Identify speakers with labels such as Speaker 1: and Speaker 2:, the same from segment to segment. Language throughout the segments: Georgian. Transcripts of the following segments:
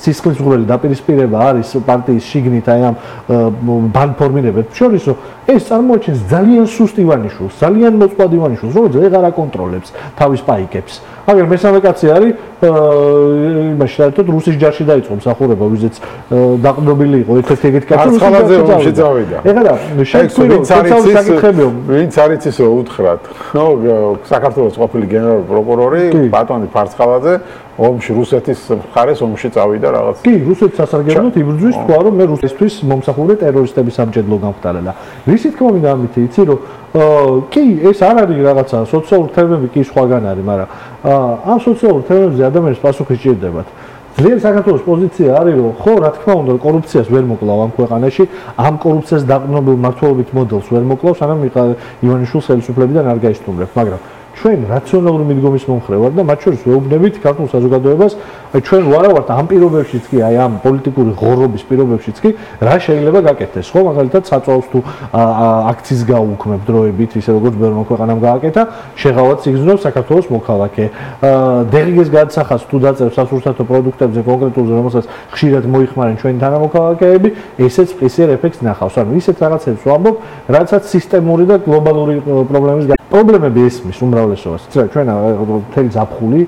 Speaker 1: სისხლისმღვრელი დაპირისპირება არის პარტიის შიგნით აი ამ ბანფორმირებებს შორის, რომ ეს წარმოაჩენს ძალიან სუსტ ივანიშვილს, ძალიან მოწყვლად ივანიშვილს, რომელიც ვეღარ აკონტროლებს თავის პაიკებს. მაგრამ მესამე კაცი არის იმაში საერთოდ რუსის ჯარში დაიწყო მსახურება, ვიზეც დაყრდნობილი იყო ერთ-ერთი ეგეთი კაცი
Speaker 2: რუსის ჯარში წავიდა.
Speaker 1: ეხლა შეგვიძლია საკითხებიო,
Speaker 2: ვინც არის ის რომ უთხრათ. ნო საქართველოს ყოფილი გენერალური პროკურორი ბატონი ფარცხალაძე ომში რუსეთის მხარეს ომში წავიდა რაღაც.
Speaker 1: კი, რუსეთის სასარგებლოდ იბრძვის თქვა რომ მე რუსისთვის მომსახურე ტერორისტების სამჭედლო გამხდარა. რისი თქმა მინდა ამით იცი რომ კი ეს არ არის რაღაცა სოციალური თემები კი სხვაგან არის, მაგრამ ამ სოციალურ თემებზე ადამიანებს პასუხი სჭირდებათ. ძლიერი საქართველოს პოზიცია არის რომ ხო რა თქმა უნდა კორუფციას ვერ მოკლავ ამ ქვეყანაში, ამ კორუფციას დაყრდნობილ მმართველობით მოდელს ვერ მოკლავ, სანამ ივანიშვილს ხელისუფლებიდან არ გაისტუმრებს, მაგრამ ჩვენ რაციონალური მიდგომის მომხრე ვარ და მათ შორის ვეუბნებით ქართულ საზოგადოებას, აი ჩვენ ვარავართ ამ პირობებშიც კი, აი ამ პოლიტიკური ღორობის პირობებშიც კი, რა შეიძლება გაკეთდეს. ხო, მაგალითად საწვავს თუ აქციის გაუქმებ დროებით, ისე როგორც ბევრმა ქვეყანამ გააკეთა, შეღავათ სიგრძნობს საქართველოს მოქალაქე. დეღიგეს გადასახადს თუ დაწერს სასურსათო პროდუქტებზე კონკრეტულზე, რომელსაც ხშირად მოიხმარენ ჩვენი თანამოქალაქეები, ესეც ყისიერ ეფექტს ნახავს. ანუ ისეთ რაღაცებს ვამბობ, რაცაც სისტემური და გლობალური პრობლემის პრობლემები ესმის უმრავლესობას. იცი რა, ჩვენ მთელი ზაფხული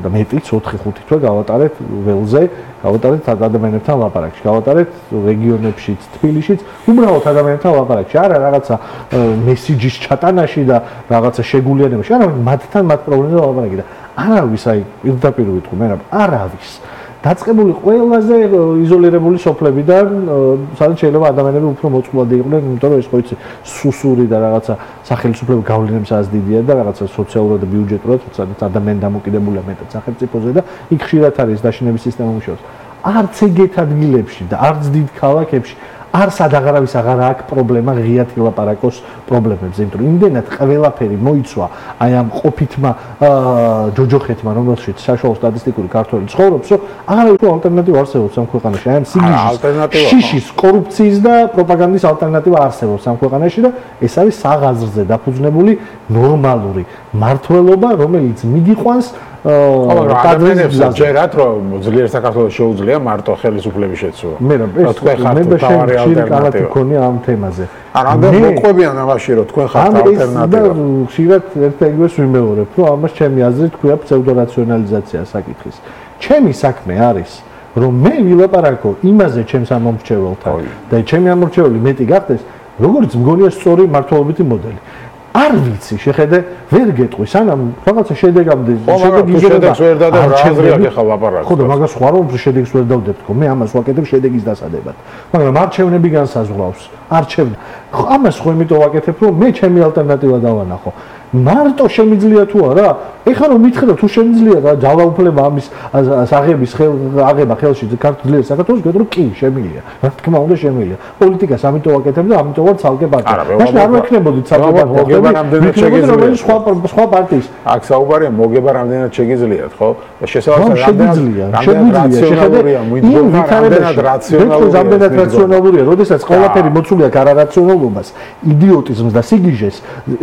Speaker 1: და მეტიც 4-5 თვე გავატარეთ ველზე, გავატარეთ ადამიანებთან ლაპარაკში, გავატარეთ რეგიონებშიც, თბილისშიც, უბრალოდ ადამიანებთან ლაპარაკში, არა რაღაცა მესიჯის ჩატანაში და რაღაცა შეგულიანებაში, არა მათთან მათ პრობლემებზე ლაპარაკი და არავის აი პირდაპირ ვიტყვი მე რა, არავის დაწყებული ყველაზე იზოლირებული სოფლებიდან, სადაც შეიძლება ადამიანები უფრო მოწყვლადი იყვნენ, იმიტომ რომ ეს ხო იცი სუსური და რაღაცა სახელმწიფო გავლენებს ასდიდია და რაღაცა სოციალურად და ბიუჯეტურად, სადაც ადამიანი დამოკიდებულია მეტად სახელმწიფოზე და იქ ხშირად არის დაშინების სისტემა მუშაობს. არც ეგეთ ადგილებში და არც დიდ ქალაქებში არ სადაღარავის აღარ აქვს პრობლემა ღიად ილაპარაკოს პრობლემებზე, იმიტომ რომ იმდენად ყველაფერი მოიცვა აი ამ ყოფითმა ჯოჯოხეთმა, რომელშიც საშუალო სტატისტიკური ქართველი ცხოვრობს, რომ აღარავითო ალტერნატივა არსებობს ამ ქვეყანაში. აი ამ სიგიჟის, შიშის, კორუფციის და პროპაგანდის ალტერნატივა არსებობს ამ ქვეყანაში და ეს არის საღაზრზე დაფუძნებული ნორმალური მართლობა, რომელიც მიგიყვანს
Speaker 2: ადამიანებს ჯერათ რომ ძლიერ საქართველოს შეუძლია მარტო ხელისუფლების შეცვლა.
Speaker 1: მე თქვენ ხართ თავარი ალტერნატივა მქონია ამ თემაზე.
Speaker 2: რამდენი მოყვებიან ამაში რომ თქვენ ხართ ალტერნატივა.
Speaker 1: ხშირად ერთ-ერთს ვიმეორებ, რომ ამას ჩემი აზრით ქვია ფსევდორაციონალიზაცია საკითხის. ჩემი საქმე არის რომ მე ვილაპარაკო იმაზე ჩემს ამომრჩეველთან და ჩემი ამომრჩეველი მეტი გახდეს, როგორც მგონია სწორი მართლობითი მოდელი. არ ვიცი, შეხედე, ვერ გეტყვი, სანამ რაღაცა შედეგამდე
Speaker 2: შედეგს ვერ დადებ, რა აზრია გეხა ლაპარაკს.
Speaker 1: ხო და მაგას ხوار რომ შედეგს ვერ დავდებ თქო, მე ამას ვაკეთებ შედეგის დასადებად. მაგრამ არჩევნები განსაზღვრავს, არჩევნა. ამას ხო იმიტომ ვაკეთებ, რომ მე ჩემი ალტერნატივა დავანახო. მარტო შემიძლია თუ არა? ეხლა რომ მითხრა თუ შემიძლია და ძალაუფლება ამის აღების აღება ხელში ქართულ საქართველოს გეტყვი კი შემიძლია. რა თქმა უნდა შემიძლია. პოლიტიკას ამიტომ ვაკეთებ და ამიტომ ვარ ცალკე პარტია. მაშინ არ ვექნებოდით ცალკე პარტია.
Speaker 2: მოგება რამდენად შეგიძლიათ
Speaker 1: სხვა პარტიის.
Speaker 2: აქ საუბარია მოგება რამდენად შეგიძლიათ, ხო? და შესაძლოა
Speaker 1: შეგვიძლია. რამდენად რაციონალურია, როდესაც ყველაფერი მოცულია არარაციონალობას, იდიოტიზმს და სიგიჟეს,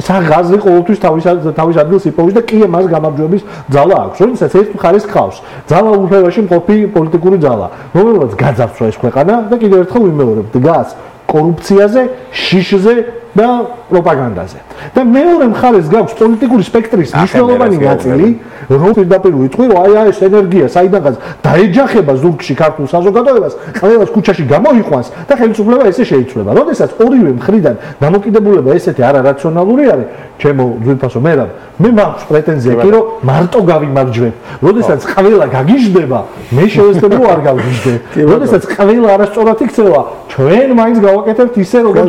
Speaker 1: საღაზრი ყოველთვის თავის ადგილს იპოვის და კი მას გამარჯვების ძალა აქვს. როდესაც ერთ მხარეს ხავს ძალაუფლებაში მყოფი პოლიტიკური ძალა, რომელსაც გაძარცვა ეს ქვეყანა და კიდევ ერთხელ ვიმეორებ, დგას კორუფციაზე, შიშზე და პროპაგანდაზე. და მეორე მხარეს გაქვს პოლიტიკური სპექტრის მნიშვნელოვანი ნაწილი, რომ პირდაპირ ვიტყვი, რომ აი ეს ენერგია საიდანღაც დაეჯახება ზურგში ქართულ საზოგადოებას, ყველას ქუჩაში გამოიყვანს და ხელისუფლება ესე შეიცვლება. როდესაც ორივე მხრიდან დამოკიდებულება ესეთი არარაციონალური არის, ჩემო ძვირფასო მერაბ, მე მაქვს პრეტენზია კი რომ მარტო გავიმარჯვებ. როდესაც ყველა გაგიჟდება, მე შევეცდები რომ არ გავიჟდე. როდესაც ყველა არასწორად იქცევა, ჩვენ მაინც გავაკეთებთ ისე როგორც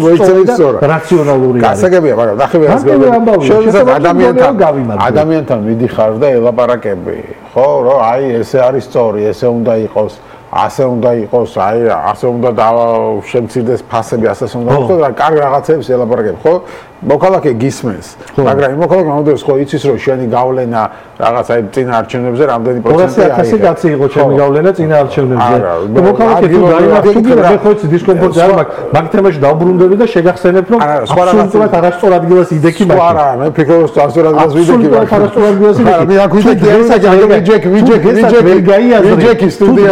Speaker 1: სწორად რაციონალური არის.
Speaker 2: გასაგებია, მაგრამ ნახე ვერას ადამიანთან მიდიხარ და ელაპარაკები, ხო, რომ აი ესე არის სწორი, ესე უნდა იყოს. ასე უნდა იყოს, აი ასე უნდა შემცირდეს ფასები, ასე უნდა იყოს და კარგ რაღაცებს ელაპარაკებ, ხო? მოქალაქე გისმენს, მაგრამ იმ მოქალაქე მომდევს ხო იცის რომ შენი გავლენა რაღაც აი წინა არჩევნებზე რამდენი პროცენტია არის.
Speaker 1: 200,000 კაცი იყო ჩემი გავლენა წინა არჩევნებზე. და მოქალაქე თუ დაიმახსოვრდა, მე ხო იცი დისკომფორტი არ მაქვს, მაგ თემაში დავბრუნდები და შეგახსენებ რომ აბსოლუტურად არასწორ ადგილას იდექი მაქვს.
Speaker 2: არა, მე ფიქრობ რომ არასწორ ადგილას ვიდექი.
Speaker 1: არასწორ ადგილას იდექი.
Speaker 2: მე აქ ვიდექი, ვიჯექი სტუდია.